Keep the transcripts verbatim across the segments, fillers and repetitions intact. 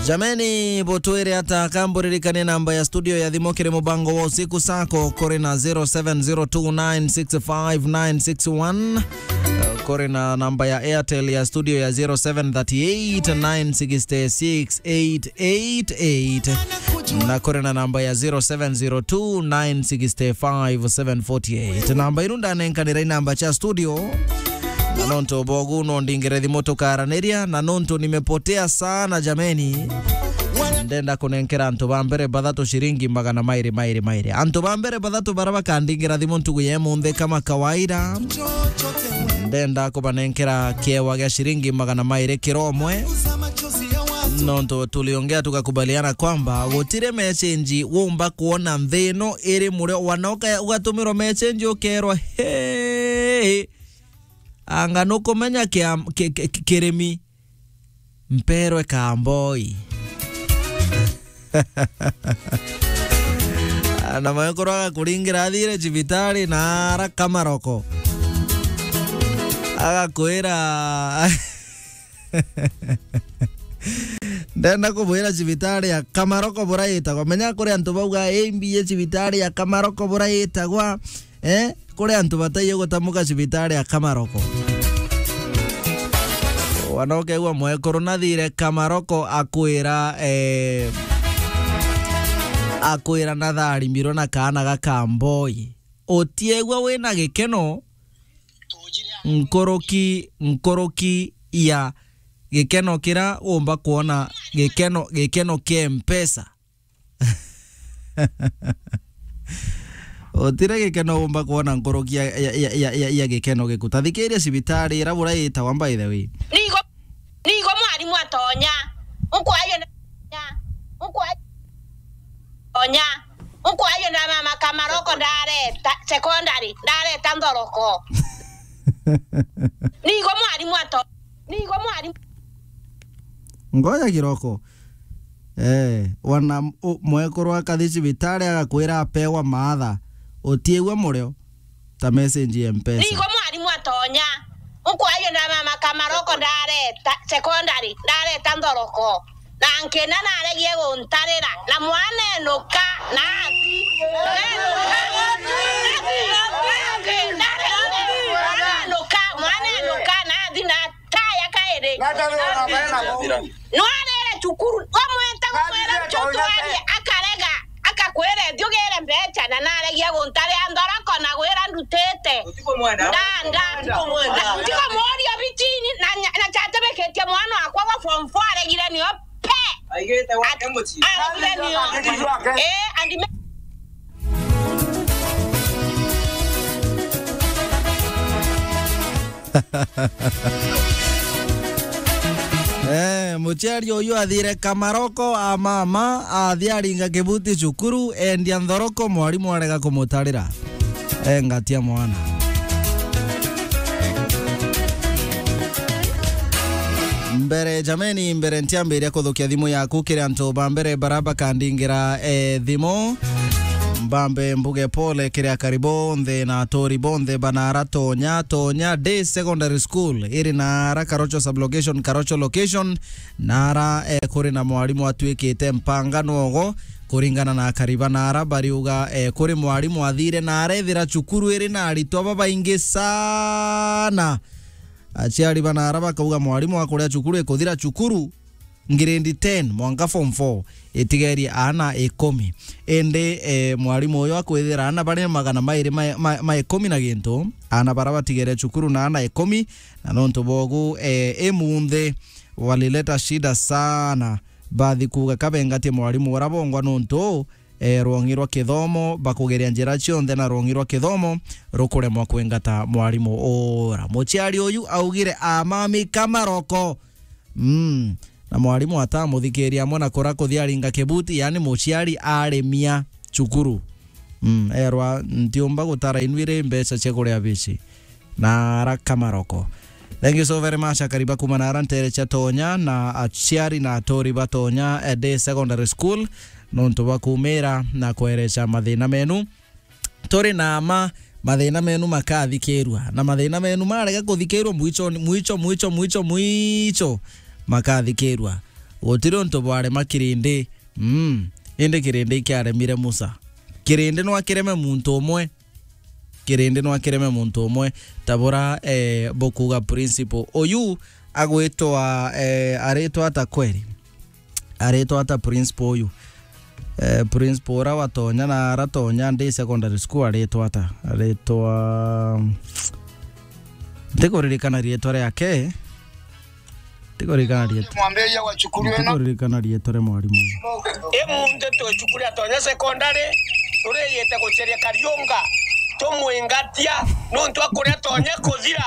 Jameni, butwire ata? Kamburirikanie namba ya studio ya thimu kiri mubango wa usiku sako kuri na zero seven zero two nine six five nine six one. Eh, kuri na namba ya Airtel ya studio ya zero seven thirty eight nine six six eight eight eight. Na kuri na namba ya zero seven zero two nine six five seven forty eight. Namba iru ndanenkanira i namba cha studio. Na nontu bogu no ndingire thimu tukaraniria, na nontu nimepotea sana jameni. Ndenda kunenkera antu ba mbere bathatu ciringi magana mairi, mairi, mairi. Antu ba mbere bathatu bara bakandingira thimu ntugu ya imunthi kama kawaida. Ndenda kubanenkera kiewa gia ciringi magana mairi kiro umwe. Nontu tuliongea tukakubaliana kwamba gutire message wumba kuona nthi ino iri murio, wanoka ugatumirwa message ukerwa, "Hey, anga nukumenya kia-, ki-, ki-, ki-, kirimi mperwe kamboi." Na mwekuru agakuringira athire cibitari na ara kamaroko. Agakwira, ndenda kubwira cibitari ya kamaroko buraitagwa. Menya kuri antu bauga, "Ii mbiye cibitari ya kamaroko buraitagwa." Eh? Kuri antu bataiyo gutamuka cibitari ya kamaroko. Wana ukegua mwekuru nathire kamaroko akwira, eh, akwira natharimirwe na kaana ga kamboi. Utiegua wina gikeno nkuruki, nkuruki ya gikeno kira umba kuona gikeno, gikeno kia mpesa. Utire gikeno umba kuona nkuruki ya, ya, ya, ya, ya, ya gikeno giku. Tathikiria cibitari ira bura itagwa, by the way. Nigo, nigo mwarimu atonya. Ukwayo na, ukwayo. Onya. Ukwayo na mama kamaroko ndareta, secondary, ndareta nthoroko. Nigo mwarimu ato-, nigo mwarimu. Ngoja kiroko. Eh, wana u-, mwekuru akathi cibitari agakwira apewa maatha. Utiigua murio? Ta message ya Mpesa. Nigo mwarimu atonya. Ukwayo na mama kamaroko ndareta, secondary, ndareta nthoroko. Na nkina naregie guntarira. Na mwana enuka, nathi. Enuka. Mwana enuka, mwana enuka, nathi na taya kairi. Nwarire cukuru, wamweta gumwira ncu twarie, akarega, akakwira thiugire mbeca, na naregia guntaria nthoroko na gwira ndutite. Ndanda. Ndikomuria bitini, na nya-, na chatibikitie mwana wakwa wa form four aregire nio pe. Aigite wake mucii. Aregire nio. Eh, and me- Eh, muciari uyu athire kamaroko a mama, athi aringa kibuti cukuru, endia nthoroko, mwarimu arega kumutarira. Engatia mwana. Mbere, jameni, mbere ntiambiria kuthukia thimu yaku kiri antu ba mbere bara bakandingira, eh, thimu. Mbambe mbuge pole kiri akari bonthe na aturi bonthe ba naara Tonya, Tonya Day Secondary School, iri naara Karocho Sublocation, Karocho Location, naara, eh, kuri na mwarimu atwikite mpanga nwogo, kuringana na akari ba naara bariuga, eh, kuri mwarimu athire naara ethira cukuru iri na aritwa babaingi sana. Aciari ba naara bakauga mwarimu akuria cukuru ikuthira cukuru, grade ten mwanka form four, itigerie aana ikumi. Indi, eh, mwarimu uyu akwithira aana bari magana mairi ma, ma, ma ikumi na gintu, aana bara batigere cukuru na aana ikumi, na nontu bogu, eh, imunthi walileta shida sana. Bathi kuuga kabengatie mwarimu ura bongwa nontu, eh, rwong'i rwa kithomo, bakugeria njira cionthe na rwong'i rwa kithomo rukuremwa kwingata mwarimu ura. Muciari uyu augire amami kamaroko. Mm. Na mwarimu atamuthikiria amwe na kura kuthi aringa kibuti, yani muciari aremia cukuru. Mm, erwa, "Ntiumba gutara inwire mbeca cia kuria bici." Naara kamaroko. Thank you so very much, akari ba kuma naara ntere cia Tonya na aciari na aturi ba Tonya, eh, Day Secondary School, nontu bwa kumira na kwereca mathina menu. Turi na ma, mathina menu makathikirua, na mathina menu marega kuthikirua, mwicho, mwicho, mwicho, mwicho, mwicho makathikirua. Gutiri untu bwarema kirindi. Mm. Indi kirindi ikiaremire Musa. Kirindi no akireme muntu umwe. Kirindi no akireme muntu umwe. Tabura, eh, bukuga principal. Uyu agwitwa, eh, aritwa ata kweri? Aritwa ata principal uyu? Eh, principal ura watonya na aratonya ndi secondary school aritwa ata? Aritwa, ntikuririkana riitwa riake. Ntikuririkana riitwa. Mwambie wachukuliwe na. Ntikuririkana riitwa ria mwarimu uyu. Imunthi twicukuri atonya secondary, turiyite guceria Kariunga, tumwingatia, nontu akuria atonya kuthira.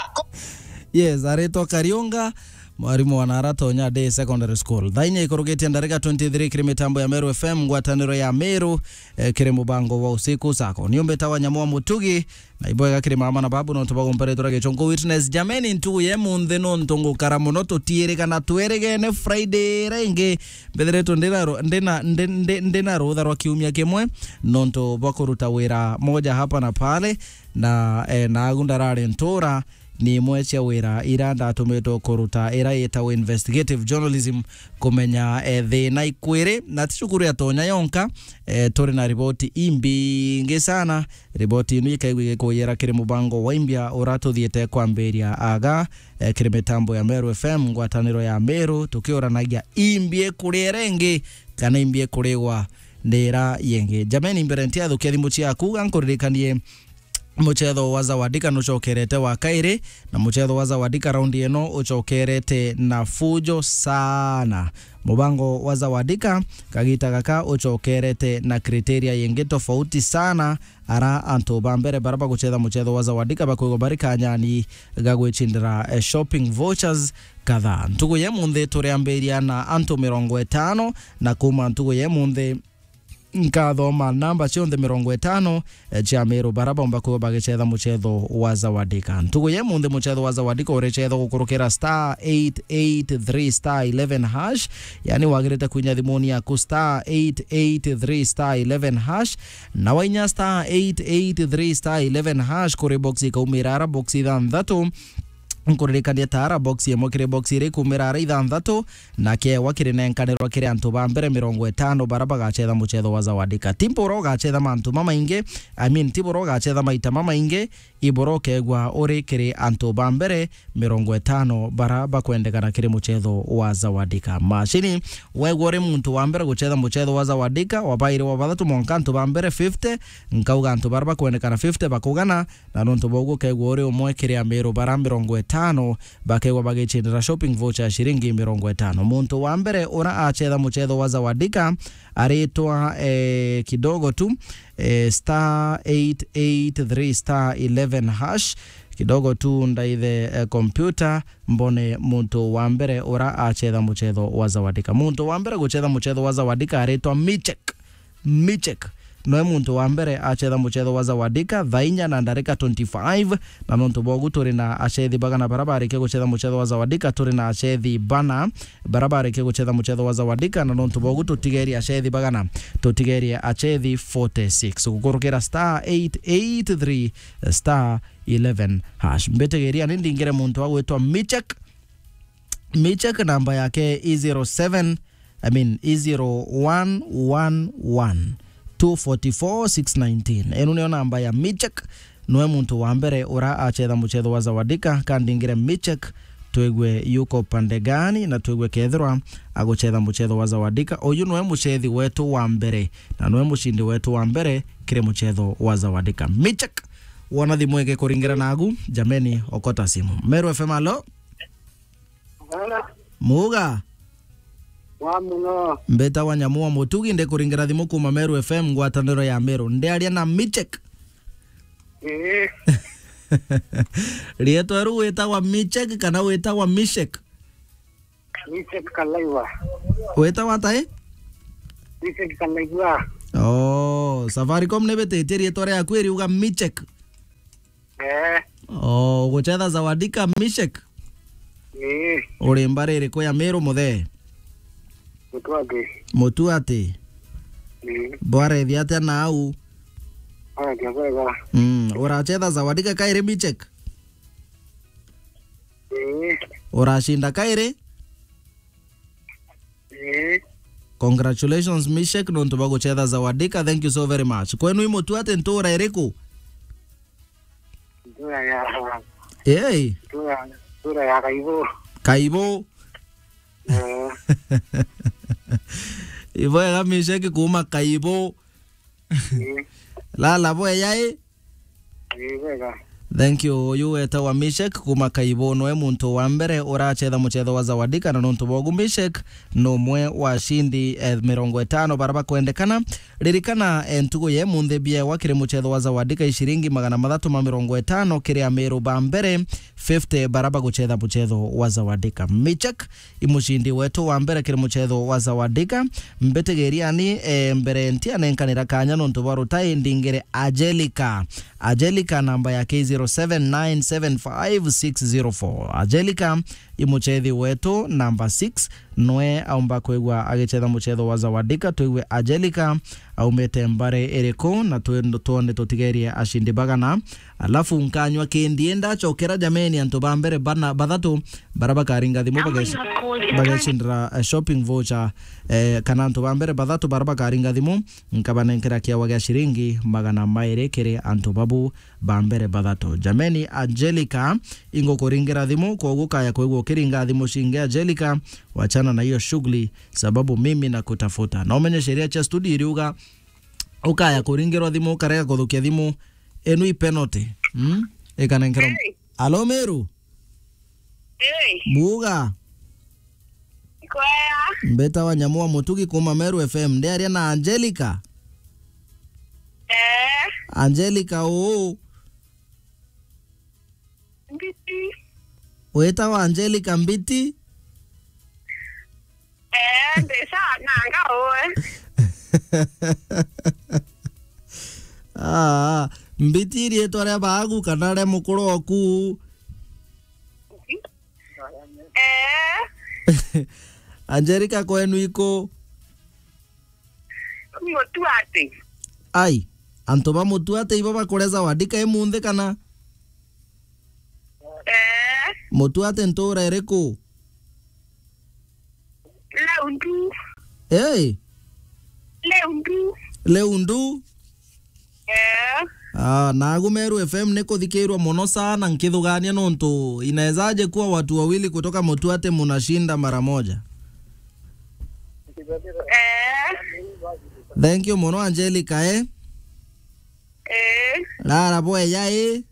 Yes, aritwa Kariunga, mwarimu wa Nara Tonya Day Secondary School. Thaa inya ikurukitie ndarika twenty-three kiri mitambo ya Meru F M, ngwataniro ya Meru, eh, kiri mubango wa usiku sako. Niumbita wa Nyamu wa Mutugi, na ibwega kiri mama na babu, nontu bagumperetwe ra Gichunku Witness. Jameni, ntugu ya imunthi nontu ngukara muno, tutiirigana twerigene Friday iria ingi. Mbithiritwe ndina ru-, ndina, ndi-, ndi-, ndina rutha rwa kiumia kimwe, nontu bwa kuruta wira moja hapa na pale, na, eh, naagu ndarari ntura, ni imwe cia wira ira ndatumitwe kuruta, ira yitagwa investigative journalism, kumenya, eh, thina ikwiri, na ti cukuru ya Tonya yonka, eh, turi na riboti imbingi sana. Riboti inu ikaigua igikuyira kiri mubango wa Imbia ura tuthiite kwambiria aga, eh, kiri mitambo ya Meru F M, ngwataniro ya Meru, tukiuranagia imbi ikuria iria ingi kana imbi ikurigwa ni ira yengi. Jameni, mbere ntiathukia thimu ciaku, ga nkuririkanie mucetho wa Zawadika nucokerete wa kairi, na mucetho wa Zawadika raundi ino ucokerete na fujo sana. Mubango wa Zawadika kagita gaka ucokerete na criteria yengi tofauti sana. Ara antu ba mbere bara bagucetha mucetho wa Zawadika bakwigwa bari kanyani ga gwicindira, eh, shopping vouchers kadhaa. Ntugu ya imunthi turiambiria na antu mirongo itano, na kuma ntugu ya imunthi nkathoma namba cionthe mirongo itano, eh, cia Meru bara baumba kwigwa bagicetha mucetho wa Zawadika. Ntugu ya imunthi mucetho wa Zawadika uricethwa gukurukira star eight eight three star eleven hash, yani wagirite kwinya thimuni yaku star eight eight three star eleven hash, na wainya star eight eight three star eleven hash kuri box ikaumira ara box ithanthatu. Nkuririkania ta ara box imwe kiri box iri ikumira ara ithanthatu, na kiewa kirinenkanirwa kiri antu ba mbere mirongo itano bara bagacetha mucetho wa Zawadika. Ti bura ugacetha mantu mamaingi, I mean, ti bura ugacetha maita mamaingi, ibura ukegwa uri kiri antu ba mbere mirongo itano bara bakwendekana kiri mucetho wa Zawadika. Mashini, wegwa uri muntu wa mbere gucetha mucetho wa Zawadika, wa bairi, wa bathatu, mwanka antu ba mbere fifty, nkauga antu bara bakwendekana fifty bakugana, na nontu bwa uguo ukegwa uri umwe kiri Amiru bara mirongo itano bakegwa bagicindira shopping voucher ya ciringi mirongo itano. Muntu wa mbere ura acetha mucetho wa Zawadika aritwa, eh, kidogo tu, eh, star eight eight three star eleven hash. Kidogo tu ndaithe, eh, computer mbone muntu wa mbere ura acetha mucetho wa Zawadika. Muntu wa mbere gucetha mucetho wa Zawadika aritwa Michek. Michek noe muntu wa mbere acetha mucetho wa Zawadika thaa inya na ndarika twenty-five, na nontu bwogu turi na acethi bagana bara barikia gucetha mucetho wa Zawadika, turi na acethi bana bara barikia gucetha mucetho wa Zawadika, na nontu bwogu tutigerie acethi bagana, tutigerie acethi forty-six. Gukurukira star eight eight three star eleven hash. Mbitigiria ni ndingire muntu agwitwa Michek. Michek namba yake i zero seven, I mean, i zero one one one two forty four six nineteen. Enu niyo namba ya Michek. Noe muntu wa mbere ura acetha mucetho wa Zawadika. Kandingire Michek, twigue yuko pande gani na twigue kethirwa agucetha mucetho wa Zawadika. Uyu noe mucethi wetu wa mbere na noe mucindi wetu wa mbere kiri mucetho wa Zawadika. Michek, wona thimu igikuringira nagu, jameni, okota simu. Meru F M, alo? Bwana. Muga. Wa muno. Mbeta wa Nyamu wa Mutugi, ndikuringira thimu kuma Meru F M, ngwataniro ya Meru. Ndiaria na Michek. Ii. Rietwa riu witagwa Michek kana witagwa Mishek? Michek Kalaiwa. Witagwa ata, eh? Michek Kalaiwa. Oh, Safaricom nibititie rietwa riaku iriuga Michek. Eh. Oh, ugucetha Zawadika Mishek? Ii. Uri mbari iriku ya Meru, muthee? Mutuati. Mutuati? Ii. Bwarethi atia nau? Atia bwega. Mm, uracetha Zawadika kairi Mishek? Ii. Uracinda kairi? Eh. Congratulations, Mishek, nontu bwa guchetha Zawadika. Thank you so very much. Kwenu i Mutuate ntura iriku? Ntura ya, Hey. Ntura, ntura ya Kaibo. Kaibo. Eh. Ibwega, Mishek, kuma Kaibo. Eh. Lala bweya i? Eh, bwega. Thank you. Uyu wetagwa Mishek kuma Kaibo, noe muntu wa mbere urachetha muchetho wa Zawadika, na nontu bwogu Mishek ni umwe wa ashindi, eh, mirongo itano bara bakwendekana. Ririkana, eh, ntugu ya imunthi biewa kiri muchetho wa Zawadika i ciringi magana mathatu ma mirongo itano kiri amiru ba mbere fifty bara baguchetha muchetho wa Zawadika. Mishek i mucindi wetu wa mbere kiri muchetho wa Zawadika. Mbitigiriani, eh, mbere ntianenkanira kanya nontu bwa rutai, ndingire Angelica. Angelica namba yake i zero seven nine seven five six zero four. Angelica i muchethi wetu namba six, noe aumba kwigua agichetha muchetho wa Zawadika. Twigue Angelica aumite mbari iriku, na twi-, twone tutigerie ashindi bagana. Alafu nkanywa kindi ndacokera, jameni, antu ba mbere bana, bathatu bara bakaringa thimu bagesh-, bagecindira, eh, shopping voucher, eh, kana antu ba mbere bathatu bara bakaringa thimu, nkabanenkera kiawa gia ciringi magana mairi kiri antu babu ba mbere bathatu. Jameni, Angelica, ingukuringira thimu, kwogu ukaya kwigua ukiringa thimu cingi. Angelica, wachana na hiyo shughuli, sababu mimi nakutafuta. Na umenye sheria cia studio iriuga, ukaya kuringirwa thimu, ukarega kuthukia thimu, enu i penalty. Mm? Ikanenkerwa. Hey. Alo, Meru? Hey. Buga. Kwea. Mbeta wa Nyamu wa Mutugi kuma Meru F M. Ndiaria na Angelica? Eh. Angelica uu? Mbiti. Wetagwa Angelica Mbiti? Eh, ndi sawa nanga uwe. Ah, Mbiti riitwa ria baagu kana ria mukuru oku? Eh. Angelica, kwenu iku? Mutuate. Ai, antu ba Mutuate ibo bakureza Zawadika imunthi kana? Eh. Mutuate ntura iriku? Leundu. Hey. Leundu. Leundu. Eh. Ah, nagu Meru F M ni kuthikirwa mono sana nkithugania nontu inawezaje kuwa watu wawili kutoka Mutuate munashinda mara moja? Eh. Thank you mono, Angelica, eh? Eh. Rara bweya, eh?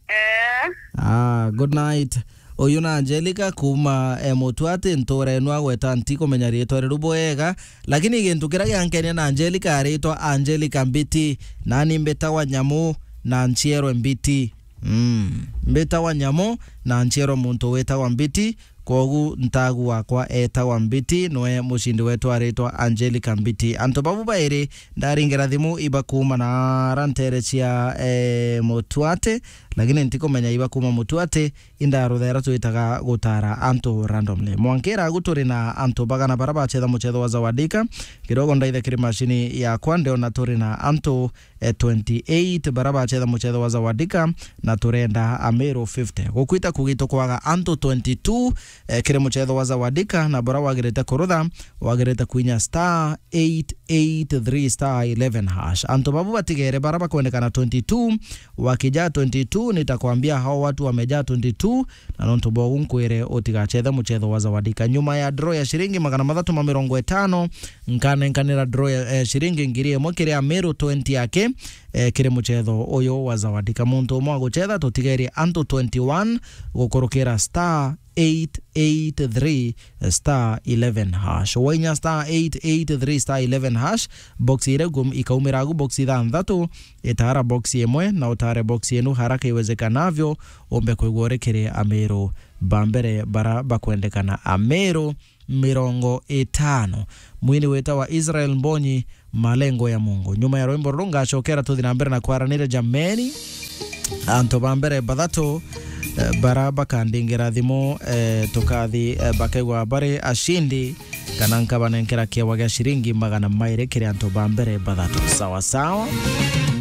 Eh. Ah, good night. Uyu na Angelica kuma, eh, Mutuate, ntura enu agweta ntikumenya riitwa riru bwega, lakini gintu kiria giankenia na Angelica aritwa Angelica Mbiti, nani mbitagwa Nyamu na ncierwe Mbiti. Mm. Mbitagwa Nyamu na ncierwe muntu witagwa Mbiti, kwogu ntagu wakwa etagwa Mbiti, noe mucindi wetu aritwa Angelica Mbiti. Antu babu bairi ndaringira thimu iba kuma na ara ntere cia, eh, Mutuate, lakini ntikumenya iba kuma Mutuate, inda ruthera twitaga gutara antu randomly. Mwankira agu turi na antu bagana bara bachetha muchetho wa Zawadika. Kidogo ndaithe kiri macini yakwa, ndiona turi na antu, eh, twenty-eight bara bachetha muchetho wa Zawadika, na turenda Amiru fifty. Gukwita kugito kwaga antu twenty-two, eh, kiri muchetho wa Zawadika, na bura wagirite kurutha, wagirite kwinya star eight eight three star eleven hash. Antu babu batigere bara bakwendekana twenty-two, wakijaa twenty-two, nitakwambia hao watu wamejaa twenty-two, na nontu bwogu nkwire utigachethe muchetho wa Zawadika. Nyuma ya draw ya ciringi magana mathatu ma mirongo itano, nkanenkanira draw ya, eh, ciringi ngiri imwe kiri Amiru twenty yake, eh, kiri muchetho uyu wa Zawadika. Muntu umwe aguchetha, tutigerie antu twenty-one gukurukira star eight eight three star eleven hash. Wainya star eight eight three star eleven hash, box iria igum-, ikaumira agu box ithanthatu, itara box imwe na utare box inu haraka iwezekanavyo, umbe kwigua uri kiri Amiru ba mbere bara bakwendekana. Amiru mirongo itano. Mwini witawa Israel Mbonyi, Malengo ya Mungu. Nyuma ya rwimbo ruru ngacokera tuthi na mbere na kwaranira jameni. Antu ba mbere bathatu, eh, bara bakandingira thimu, eh, tukathi, eh, bakaigwa bari ashindi, kana nkabanenkera kiewa gia ciringi magana mairi kiri antu ba mbere bathatu. Sawa sawa.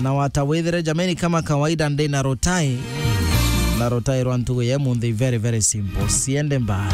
Na wata withire jameni, kama kawaida ndi na rutai. Na rutai rwa ntugu ya imunthi very, very simple. Siende mbali.